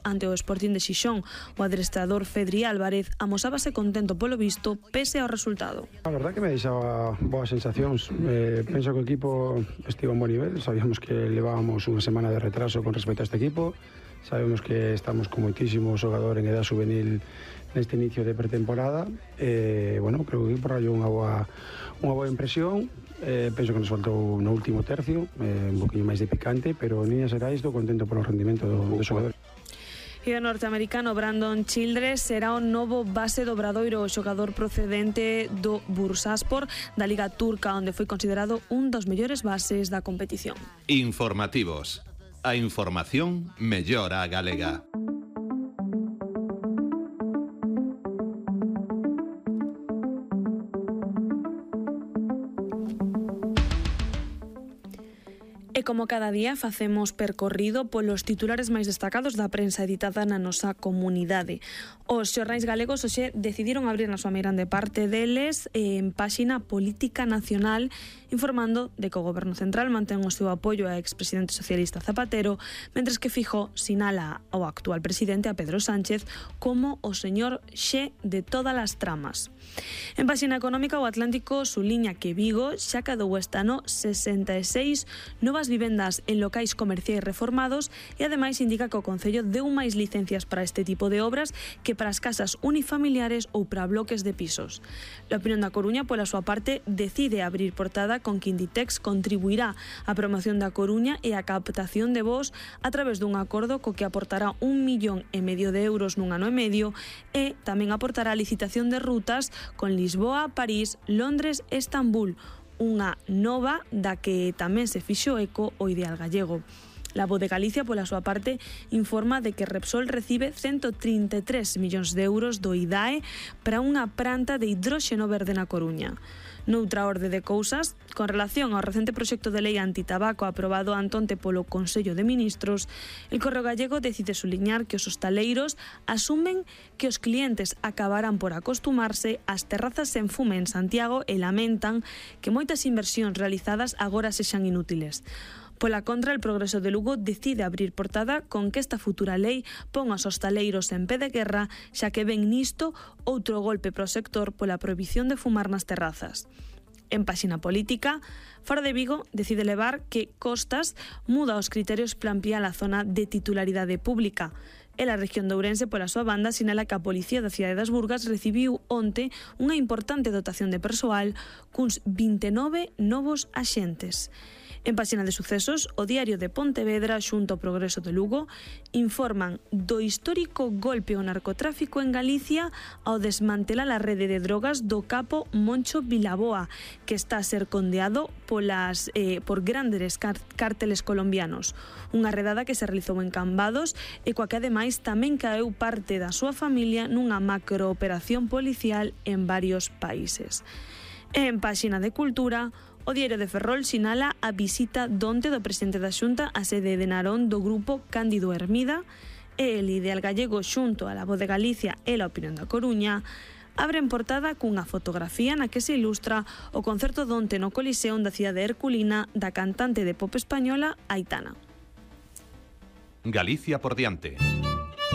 ante o Sporting de Xixón. O adestrador Fedri Álvarez amosábase contento polo visto pese ao resultado. A verdad que me deixaba boas sensacións. Penso que o equipo estivo a un bon nivel. Sabíamos que levábamos unha semana de retraso con respecto a este equipo. Sabemos que estamos con moitísimo xogador en edad juvenil neste inicio de pretemporada. Bueno, creo que o equipo rayou unha boa impresión. Penso que nos faltou no último tercio, un poquinho máis de picante, pero en líneas xerais estou contento polo rendimento do xogador. E o norteamericano Brandon Childress será o novo base do Obradoiro, o xogador procedente do Bursaspor da Liga Turca, onde foi considerado un dos mellores bases da competición. Informativos. A información mellora a galega. E como cada día facemos percorrido polos titulares máis destacados da prensa editada na nosa comunidade. Os xornais galegos hoxe decidiron abrir na súa meirande parte deles en páxina Política Nacional, informando de que o Goberno Central mantén o seu apoio ao expresidente socialista Zapatero, mentres que Fijó sinala ao actual presidente, a Pedro Sánchez, como o señor Xe de todas as tramas. En páxina económica, o Atlántico suliña que Vigo xa cadou este ano 66 novas vivendas en locais comerciais reformados e ademais indica que o Concello deu máis licencias para este tipo de obras que para as casas unifamiliares ou para bloques de pisos. A Opinión da Coruña, pola súa parte, decide abrir portada con que Inditex contribuirá á promoción da Coruña e á captación de voz a través dun acordo co que aportará 1,5 millón de euros nun ano e medio e tamén aportará a licitación de rutas con Lisboa, París, Londres e Estambul, unha nova da que tamén se fixo eco o Ideal Gallego. La Voz de Galicia, pola súa parte, informa de que Repsol recibe 133 millóns de euros do IDAE para unha planta de hidróxeno verde na Coruña. Noutra orde de cousas, con relación ao recente proxecto de lei antitabaco aprobado antonte polo Consello de Ministros, el Correo Gallego decide suliñar que os hostaleiros asumen que os clientes acabarán por acostumarse ás terrazas sen fume en Santiago e lamentan que moitas inversións realizadas agora sexan inútiles. Pola contra, el Progreso de Lugo decide abrir portada con que esta futura lei pon aos hostaleiros en pé de guerra, xa que ven nisto outro golpe pro sector pola prohibición de fumar nas terrazas. En páxina política, Faro de Vigo decide levar que Costas muda os criterios para ampliar a zona de titularidade pública. E a región de Ourense, pola súa banda, sinala que a Policía da Cidade das Burgas recibiu onte unha importante dotación de persoal cuns 29 novos axentes. En páxina de sucesos, o Diario de Pontevedra xunto ao Progreso de Lugo informan do histórico golpe ao narcotráfico en Galicia ao desmantelar a rede de drogas do capo Moncho Vilaboa, que está a ser condeado por grandes cárteles colombianos. Unha redada que se realizou en Cambados e coa que ademais tamén caeu parte da súa familia nunha macrooperación policial en varios países. En páxina de cultura, o Diario de Ferrol sinala a visita donte do presidente da Xunta á sede de Narón do grupo Cándido Hermida e el Ideal Gallego xunto a La Voz de Galicia e a Opinión da Coruña abren portada cunha fotografía na que se ilustra o concerto donte no Coliseum da cidade herculina da cantante de pop española Aitana. Galicia por diante.